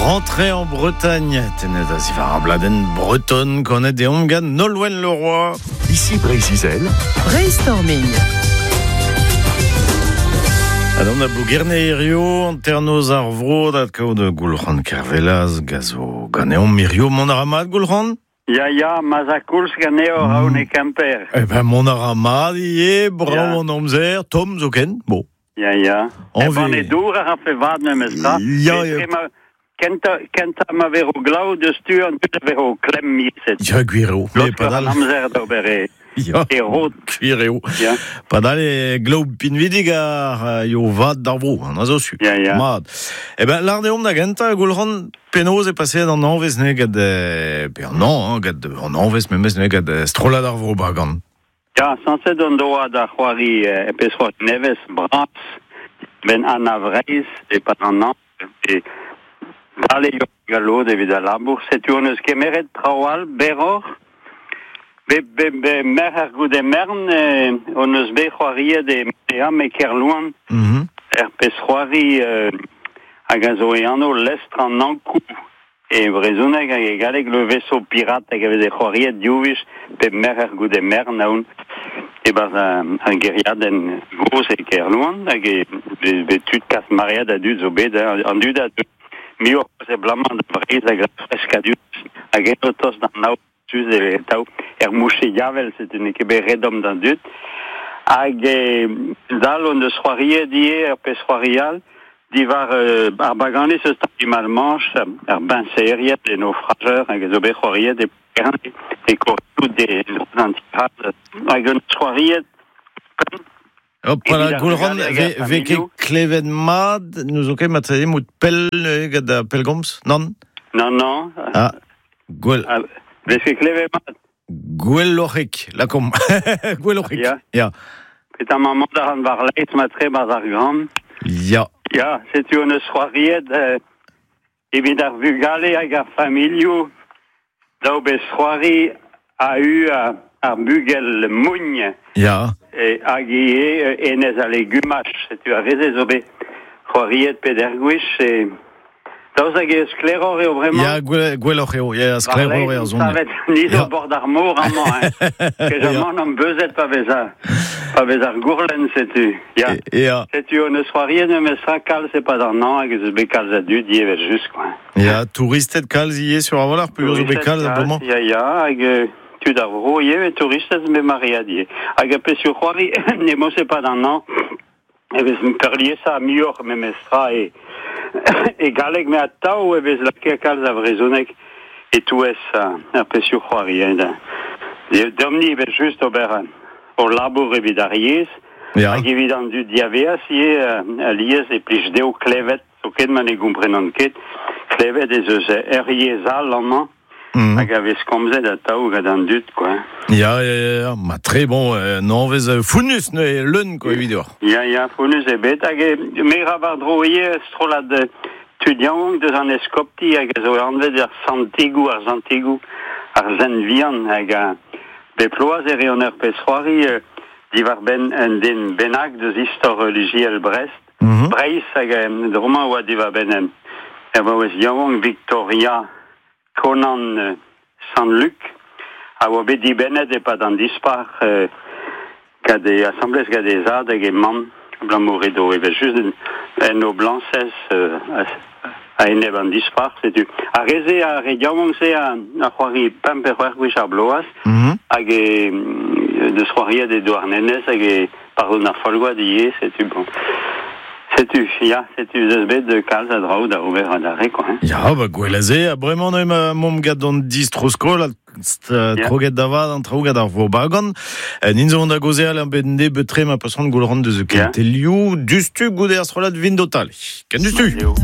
Rentrée en Bretagne, tenet a zivar ar bladenn bretonne kanet deomp gant Nolwenn Leroy. Ici Breizh-Izel. Brainstorming. Adon da Blougerne hirio, hanternoz ar vro, dat kaout Goulc'han Kervelaz, gazo ganeomp hirio, mont a ra mat, Goulc'han? Ya, ya, ma'z a koulz ganeoc'h, aon e Kemper. Eh ben, mont a ra mat ivez, brav an amzer, tomm zoken, bon. Ya, ya. Anve- E banne dour a rafe vad memes tra. Ya, ya. Etre ma, kenta, kenta ma vero glav deus tu an dud a vero klemm miset. Ya, gwir eo. Mais Laosk padal, an amzer d'ober e, ya, e rod. gwir eo. Ya. Padal e glav pinvidik ar yo vad d'ar vro, an a zo su. Ya, ya. Mat. Eh ben, lar deomp da gentañ, Goulc'han, penaos e paseet an anvez ne gant, pe an an, hein, gant an anvez memes ne gant strollad ar vro bagan. Ya, sañset on doa da c'hoari e pezh c'hoari nevez bras ben Anna Vreizh e-pad an hañv e dale eo galloud evit al labour. Setu hon eus kemeret traoù all berroc'h. Be, be, be merc'her goude mern hon eus bet c'hoariet e Meam e Kerlouan er pezh c'hoari hag a zo e anv Lestr an Ankou e brezhoneg hag e galleg Le Vaisseau Pirate hag a veze c'hoariet div wech pe merc'her goude mern aon e-barzh ar gêriadenn gozh e Kerlouan hag e be tud kas maread a dud zo bet an dud a deu muioc'h eus abalamour da Vreizh hag ar freskadurezh hag eno tost d'an aod sus e tav er mouche yavel setu n'eo ket bet re domm d'an dud hag dal hon eus c'hoariet ivez ur pezh c'hoari all diwar ar baganiz eus Tangi Malmanche ar biñseried e naufrageur hag a zo bet c'hoariet e Kerne e korioù de an tirad hag hon eus c'hoariet Hop, voilà, Evit ar Goulc'han, vugale hag ve, ar ve ket familhoù. klevet mat, nous zo ket mat mout pell gant ar pellgomz, nann? Non, non. Ah, gwell, Ah, vez ket klevet mat. gwelloc'hek, lakomp. Gwelloc'hek. Ya. Ya. Petra ma mont a ran war laez ma tre barzh ar gran. Ya. Ya, setu hon eus c'hoariet evit ar vugale hag ar familhoù daou bez c'hoari a u ar bugel mougn Ya. e, hag ivez enez a legumaj. Setu ar reze zo bet c'hoariet peder gwech e... Daoust hag eo sklaeroc'h eo bremañ? Ya, gwelloc'h eo, ya, sklaeroc'h eo ar zon. Savet ni zo Ya. bord ar mor amañ, hein. Ket amañ am beuzet pa vez ar, pa vez ar gourlenn, setu. Ya. Ya. Setu hon eus c'hoariet memes tra kalz e-pad an hañv hag ez eus bet kalz a dud ivez just, quoi. Ya, touristed kalz ivez sur a-walc'h, peogwir zo bet kalz ar bremañ. Ya, ya, hag tud ar vro ivez, touristed me maread ivez. Hag a pezhioù c'hoari, ne mos e-pad an hañv, e vez peurliesañ muioc'h memes tra e, e galleg, met atav e vez lakaet kalz a vrezhoneg e-touez ar pezhioù c'hoari. Hein, da. Deomp-ni evel just ober hor labour evit ar yezh, Ya. hag evit an dud diaveaz ivez, alies e plij dezho klevet, zoken ma ne gomprenan ket, klevet ez eus ur yezh all amañ, hag a vez komzet atav gant an dud, quoi. Ya, ya, ya, ya. Ma tre bon, nanvez founnus ne leun, quoi, evit deoc'h. Ya, ya, founnus eo bet, hag e, me ra war dro ivez strollad tud yaouank deus an eskopti hag a zo anvet ar Santigoù, ar Santigoù, ar Sent Vihan, hag a bep bloaz e reont ur pezh c'hoari diwar-benn un den bennak deus istor relijiel Brest, Breizh hag dro-mañ oa diwar-benn ur vaouez yaouank Victoria Conan Sant-Luc a oa bet dibennet e-pad an dispac'h gant e asamblez gant e zad hag e mamm abalamour edo evel just en o blañsez a-enep an dispac'h, setu. Ar re-se, ar re yaouank-se a, a c'hoari pemp pe c'hwec'h gwech ar bloaz, hag e deus c'hoariet e Douarnenez hag e pardon ar Folgoad ivez, setu bon. Setu, ya, setu eus bet kalz a draoù da ober adarre, quoi. Hein. Ya, ba gwell aze, ha bremañ neuze ma momp gant an distro-skol, ha kroget da vat an traoù gant ar vro bagan. Nin zo da gaozeal an bet nebeut tre ma pasant goulc'han deus kentelioù, dustu goude ar strollad Vindotale. Ken dustu! Eo.